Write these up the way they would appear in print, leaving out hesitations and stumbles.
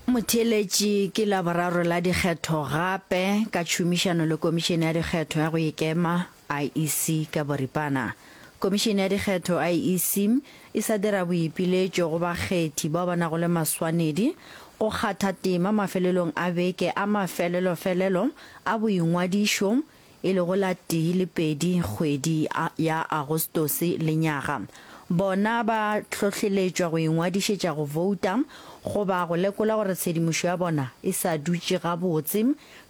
Motheeletši, Ke Laboraro la dikgetho gape ka tšhomišano le Komišene ya Dikgetho ya go Ikema, IEC, ka boripana. Komišene ya Dikgetho, IEC, e sa dira boipiletšo go bakgethi bao ba nago le maswanedi go kgatha tema mafelelong a beke a mafelelofelelo a boingwadišo e lego la tee le pedi kgwedi ya Agostose lenyaga. Bona ba hlohleletšwa go ingwadišetša go bouta goba go lekola gore tshedimošo ya bona e sa dutše gabotse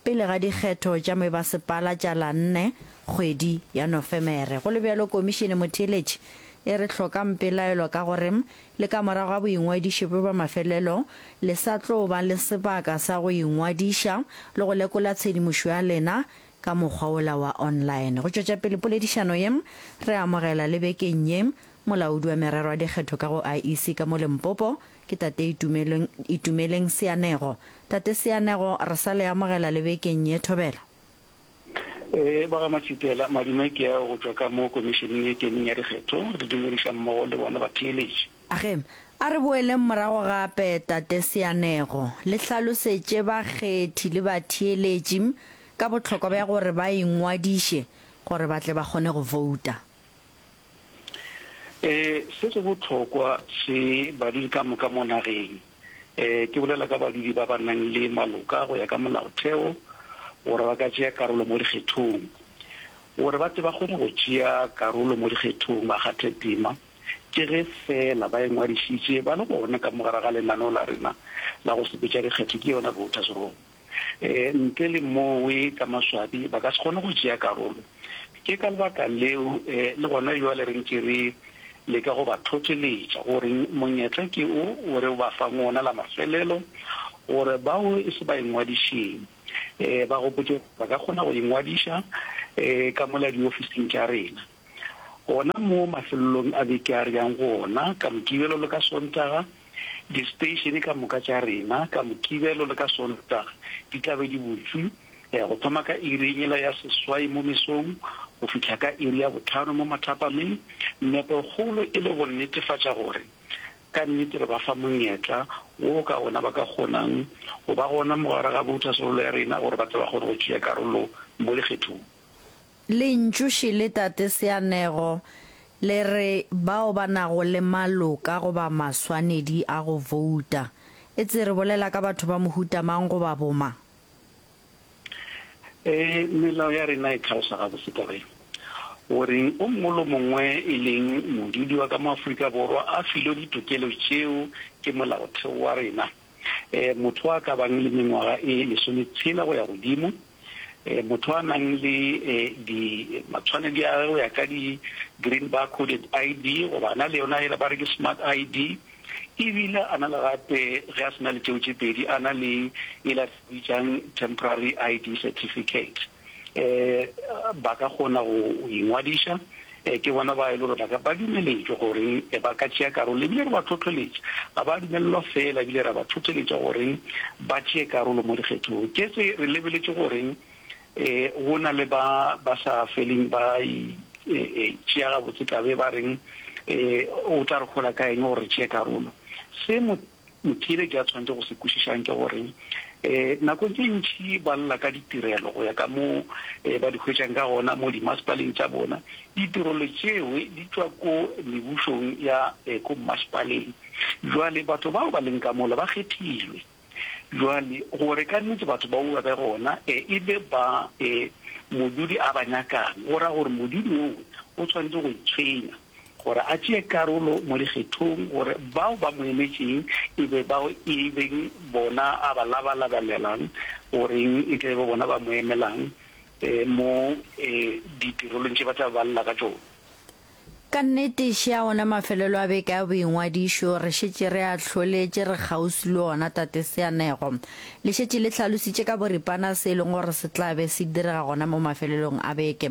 pele ga dikgetho tša mebasepala tša la nne kgwedi ya Nofemere. Go le bjalo, Komišene Motheeletši e re hlokang pelaelo ka gore le ka morago ga boingwadišo bjo bja mafelelo le sa tlo ba le sebaka sa go ingwadiša le go lekola tshedimošo ya lena ka mokgwa wola wa online. Go tšwetša pele poledišano ye, re amogela le bekeng ye Molaodi wa Merero ya Dikgetho ka go IEC ka mo Limpopo, ke Tate Itumeleng, Itumeleng Seanego. Tate Seanego, re sa le amogela le bekeng ye, thobela. Ee, ba ga Matšitela, madume ke ao go tšwa ka mo Komišeneng e Kemeng ya Dikgetho, re dumediša mmogo le bona batheeletši. Age, a re boeleng morago gape, Tate Seanego, le hlalosetše bakgethi le batheeletši ka bohlokwa bja gore ba ingwadiše gore ba tle ba kgone go vouta. Ee, se se bohlokwa se badudi ka moka mo nageng. Ee, ke bolela ka badudi ba ba nang le maloka go ya ka molaotheo gore ba ka tšea karolo mo dikgethong. Gore ba tle ba kgone go tšea karolo mo dikgethong ba kgathe tema, ke ge feela ba ingwadišitše ba le gona ka mo gare ga lenaneo la rena la go sepetša dikgetho, ke yona voters roll. Ntle le mowe, ka maswabi, ba ka se kgone go tšea karolo. Ke ka lebaka leo le gona bjale re ntše re leka go ba thotholetša gore monyetla ke o o re ba fang wona la mafelelo gore bao e se ba ingwadišeng ba gopotše gore ba ka kgona go ingwadiša ka mola diofising tša rena. Gona mo mafelelong a beke a re yang go ona, ka Mokibelo le ka Sontaga, disteishene ka moka tša rena ka Mokibelo le ka Sontaga di tla be di butšwe go thoma ka iri yela ya seswai mo mesong go fihla ka iri ya bohlano mo mathapameng, nepokgolo e le go netefatša gore ka nnete re ba fa monyetla wo ka ona ba ka kgonang go ba gona mo gare ga bouthasrolo ya rena gore ba tle ba kgone go tšea karolo mo lekgethong. Lentšu šele Tate Seanego le re bao ba nago le maloka goba maswanedi a go vouta. Etse re bolela ka batho ba mohuta mang goba bomang? Ee, melao ya rena e tlhalosa gabotse taba ye, gore o mongwe le o mongwe e leng modudi wa ka mo Afrika Borwa a filwe ditokelo tšeo ke molaotheo wa rena. Motho a ka bang le mengwaga e lesometshela go ya godimo, motho a nang le di matshwanedi a gagwe go ya ka di green bar coded ID goba a na le yona yela ba re ke smart ID, ebile a na le gape ge a se na le tšeo tše pedi a na le yela re bitšang temporary ID certificate. Ba ka kgona go ingwadiša. Ke bona ba e le gore ba ka ba dumeletšwe gore ba ka tšea karolo, ebile re ba tlhohleletša. Ga ba dumelelwa feela, ebile ra ba tlhohleletša gore ba tšee karolo mo dikgethong. Ke se re lebeletše gore go na le ba ba sa feleng ba tšea gabotse taba e ba reng o tla re hola ka eng gore re tšee karolo. Se Motheeletši a tshwanetše go se kwešišang ke gore nakong tše ntši ba lla ka ditirelo go ya ka mo ba di hwetšang ka gona mo dimasepaleng tša bona. Ditirelo tšeo di tšwa ko mebušong ya ko mmasepaleng. Bjale batho bao ba leng ka mola ba kgethilwe. Bjale gore ka nnete batho bao ba be gona e be ba modudi a ba nyakang, go ra gore modudi oo o tshwanetše go itshwenya. gore a tšee karolo mo dikgethong, gore bao ba mo emetšeng e be bao e beng bona a ba labalabelelang goreng e tle be bona ba mo emelang mo ditirelong tše ba tla ba lla ka tšona. Ka nnete, šea ona mafelelo a beke a boingwadišo, re šetše re a hloletše, re kgauswi le ona, Tate Seanego. Le šetše le hlalositše ka boripana se e leng gore se tla be se direga gona mo mafelelong a beke.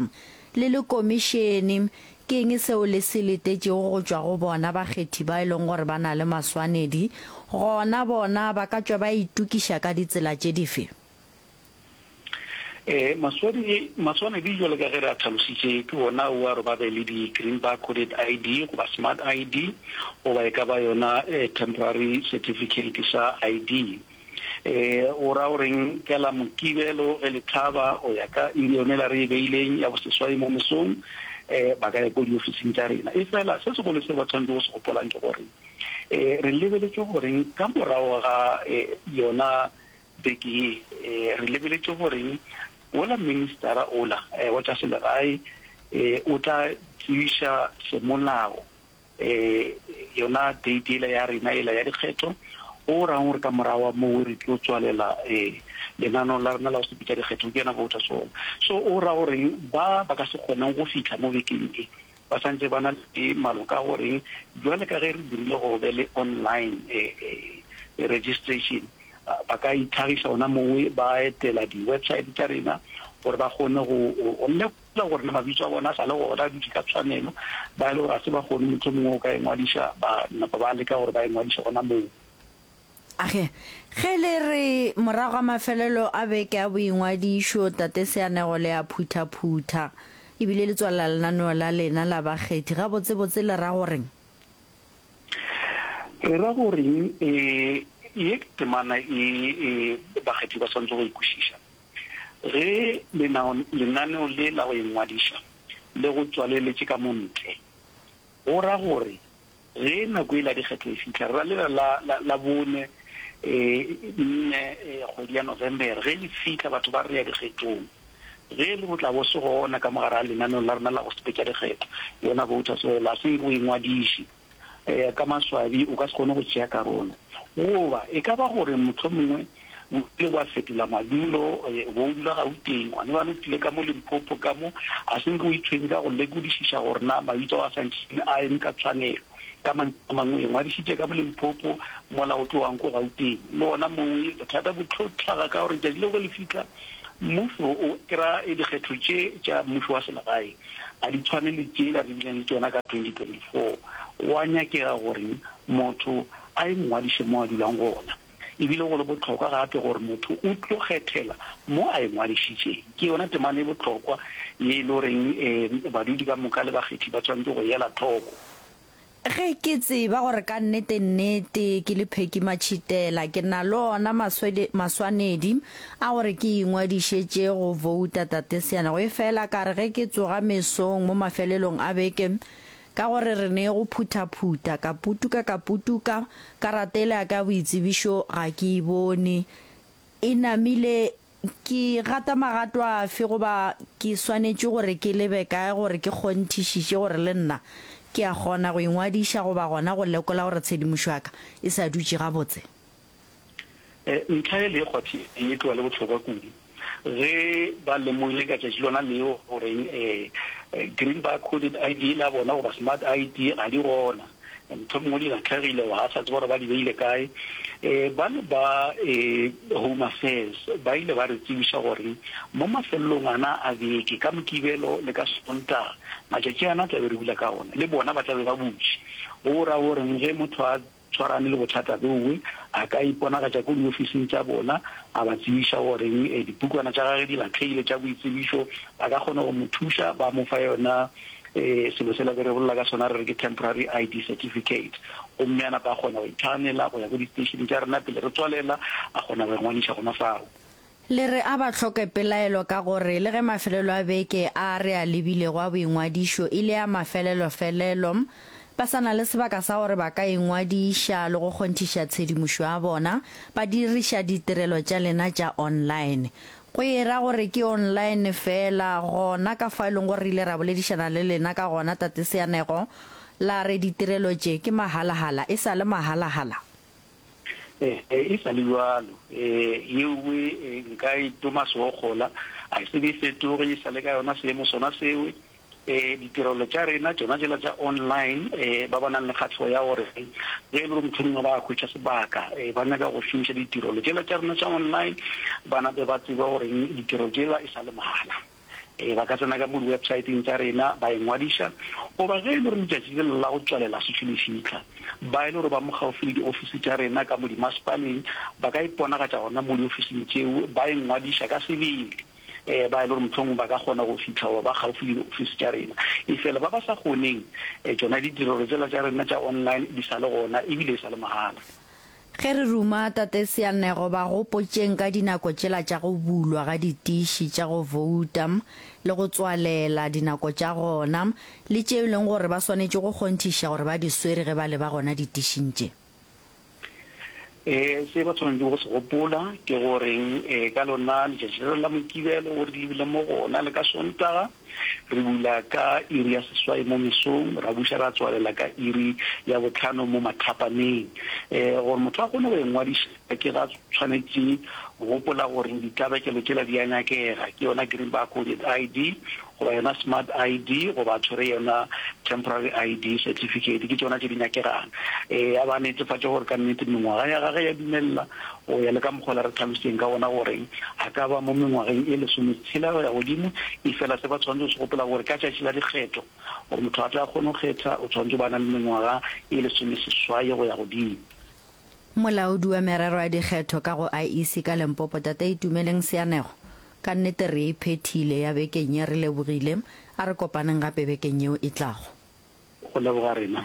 Le le komišene, ke eng seo le se letetšego go tšwa go bona bakgethi ba e leng gore ba na le maswanedi? Gona bona ba ka tšwa ba itokiša ka ditsela tše dife? Ee, maswanedi, maswanedi jwalo ka ge re a tlhalositše, ke ona ao a re ba be le di-green bar coded ID goba smart ID goba e ka ba yona temporary certificate sa ID. O ra goreng ka la Mokibelo ge le hlaba go ya ka iri yona yela re e beileng ya boseswai mo mesong, ba ka ya ko diofising tša rena. Efela se segolo se ba tshwanetšego go se gopolang ke gore re lebeletše goreng ka morago ga yona beke ye, re lebeletše goreng wola ministara ola wa tša selegae o tla tsebiša semolao yona date yela ya rena yela ya dikgetho, go rang gore ka morago wa moo re tlo tswalela lenaneo la rena la go sepetša dikgetho, ke yona voters roll. So o ra goreng ba ba ka se kgoneng go fihla mo bekeng e ba santse ba na le maloka a goreng bjale ka ge re dirile gore be le online registration, ba ka itlhagiša gona mowe ba etela di-website tša rena gore ba kgone go lekola gore na mabitso a bona a sa le gona a dutše ka tshwanelo, ba e le gore ga se ba kgone mohlomongwe go ka ingwadiša ba napa ba leka gore ba ingwadiše gona moo. Age, ge le re morago ga mafelelo a beke a boingwadišo, Tate Seanego le a phuthaphutha ebile le tswalela lenaneo la lena la bakgethi, gabotsebotse le ra goreng? Re ra goreng? E, ye ke temana e, e bakgethi ba swanetše go e kwešiša. Ge lenao, lenaneo le la go ingwadiša le go tswaleletše ka mo ntle, go ra gore ge nako yela ya dikgetho e fihla, re ra lela la, la, la bone, e, nne, e, kgwedi ya November, ge le fihla batho ba re ya dikgethong, ge e le go tla bo se gona ka mo gare ga lenaneo la rena la go sepetša dikgetho, yona voters roll, a se nke o ingwadiše. Ka maswabi o ka se kgone go tšea karolo. Goba e ka ba gore mohlomongwe o ile wa fetola madulo, o be o dula Gauteng, gona bjale o tlile ka mo Limpopo ka mo, a se nke o itshwenye ka go lekodišiša gore na mabitso ao a santšane a eme ka tshwanelo. Ka mantšu a mangwe, o ingwadišitše ka mo Limpopo mola o tlogang ko Gauteng. Le gona moo bothata bo tlo hlaga ka gore letšatši leo ge le fihla, mmušo o kry-a dikgetho tše tša mmušo wa selegae ga di tshwane le tšela re bileng le tšona ka 2024. Go a nyakega gore motho a ingwadiše mo a dulang gona. E bile go le bohlokwa gape gore motho o tlo kgethela mo a ingwadišitšeng. Ke yona temana e bohlokwa ye e le goreng badudi ka moka le bakgethi ba tshwanetše go e ela hloko. Ge ke tseba gore ka nnete-nnete ke le Pheki Matšhitela, ke na le ona maswanedi a gore ke ingwadišetše go bouta Tate Seanego. Efela ka re ge ke tsoga mesong mo mafelelong a beke, ka gore re ne go phuthaphutha, ka putuka ka putuka, karata yela ya ka ya boitsebišo ga ke e bone. E namile Ke gata magato afe goba ke swanetše gore ke lebe kae gore ke kgonthišiše gore le nna ke a kgona go ingwadiša goba gona go lekola gore tshedimošo ya ka e sa dutše gabotse? Ntlha ye le e kgwathileng e tloga le bohlokwa kudu. Ge ba lemogile ka tšatši lona leo gore green bar coded ID la bona goba smart ID ga di gona, Mohlomongwe di lahlegile goba ga sa tseba gore ba di beile kae. Ba le ba Home Affairs ba ile ba re tsebiša gore mo mafelelong ana a beke, ka Mokibelo le ka Sontaga, matšatši ana tla be re bula ka ona, le bona ba tla be ba butše. Go ra gore ge motho a tshwarane le bothata bjowe, a ka iponagatša ko diofising tša bona, a ba tsebiša gore dipukwana tša gagwe di lahlegile tša boitsebišo, ba ka kgona go mo thuša, ba mo fa yona Selo sela be re bolela ka sona re re ke temporary ID certificate, gomme a napa a kgona go itlhaganela go ya ko di-station tša rena pele re tswalela, a kgona go ingwadiša gona fao. Le re a ba hloke pelaelo ka gore le ge mafelelo a beke a re a lebilego a boingwadišo e le a mafelelofelelo, ba sa na le sebaka sa gore ba ka ingwadiša le go kgonthiša tshedimošo ya bona ba diriša ditirelo tša lena tša online. Go e ra gore ke online feela, gona ka fao e leng gore re ile ra boledišana le lena ka gona, Tate Seanego, la re ditirelo tše ke mahalahala, e sa le mahalahala? Ee, e sa le bjalo. Ee, yeowe nka e toma seokgola, a e se be e fetoge, e sa le ka yona seemo sona sewe. Ditirelo tša rena tšona tšela tša online, ba ba nang le kgahlego ya gore ge e le gore mohlomongwe ba hwetša sebaka ba nyaka go šomiša ditirelo tšela tša rena tša online, ba nape ba tsebe gore ditirelo tšela e sa le mahala. Ba ka tsena ka mo di-websiteng tša rena ba ingwadiša, goba ge e le gore letšatši le la go tswalela se le fihla, ba e le gore ba mo kgaufsi le diofisi tša rena ka mo dimasepaleng, ba ka iponagatša gona mo diofising tšeo ba ingwadiša ka sebele. Ba e le gore mohlomongwe ba ka kgona go fihla goba ba kgaufsi le diofisi tša rena. Efela ba ba sa kgoneng, tšona ditirelo tšela tša rena tša online di sa le gona ebile e sa le mahala. Ge re ruma Tate Seanego ba gopotšeng ka dinako tšela tša go bulwa ga ditiši tša go vouta le go tswalela dinako tša gona le tše e leng gore ba swanetše go kgonthiša gore ba di swere ge ba leba gona ditišing tše. Ee, se ba swanetšego go se gopola ke gore ka lona letšatši le la Mokibelo o re lebile mo gona le ka Sontaga, re bula ka iri ya seswai mo mesong, ra buša ra tswalela ka iri ya bohlano mo mathapameng. Gore motho a kgone go ingwadiša ke ga tshwanetše go gopola gore ditlabakelo tšela di a nyakega, ke yona green barcoded ID goba yona smart ID goba a tshwere yona temporary ID certificate, ke tšona tše di nyakegang. Ee, a ba netefatše gore ka nnete mengwaga ya gage ya dumelela go ya le ka mokgwa la re tlhalositseng ka gona gore a ka ba mo mengwageng e lesometshela go ya godimo. Efela se ba tshwanetse go se gopola gore ka tšatši la dikgetho, gore motho a tle a kgone go kgetha, o tshwanetse go ba a na le mengwaga e lesomeseswai go ya godimo. Molaodi wa merero ya dikgetho ka go IEC ka Limpopo, Tate Itumeleng Seanego, Ka nnete re e phethile ya bekeng ye, re lebogile. A re kopaneng gape bekeng yeo e tlago. Go leboga rena.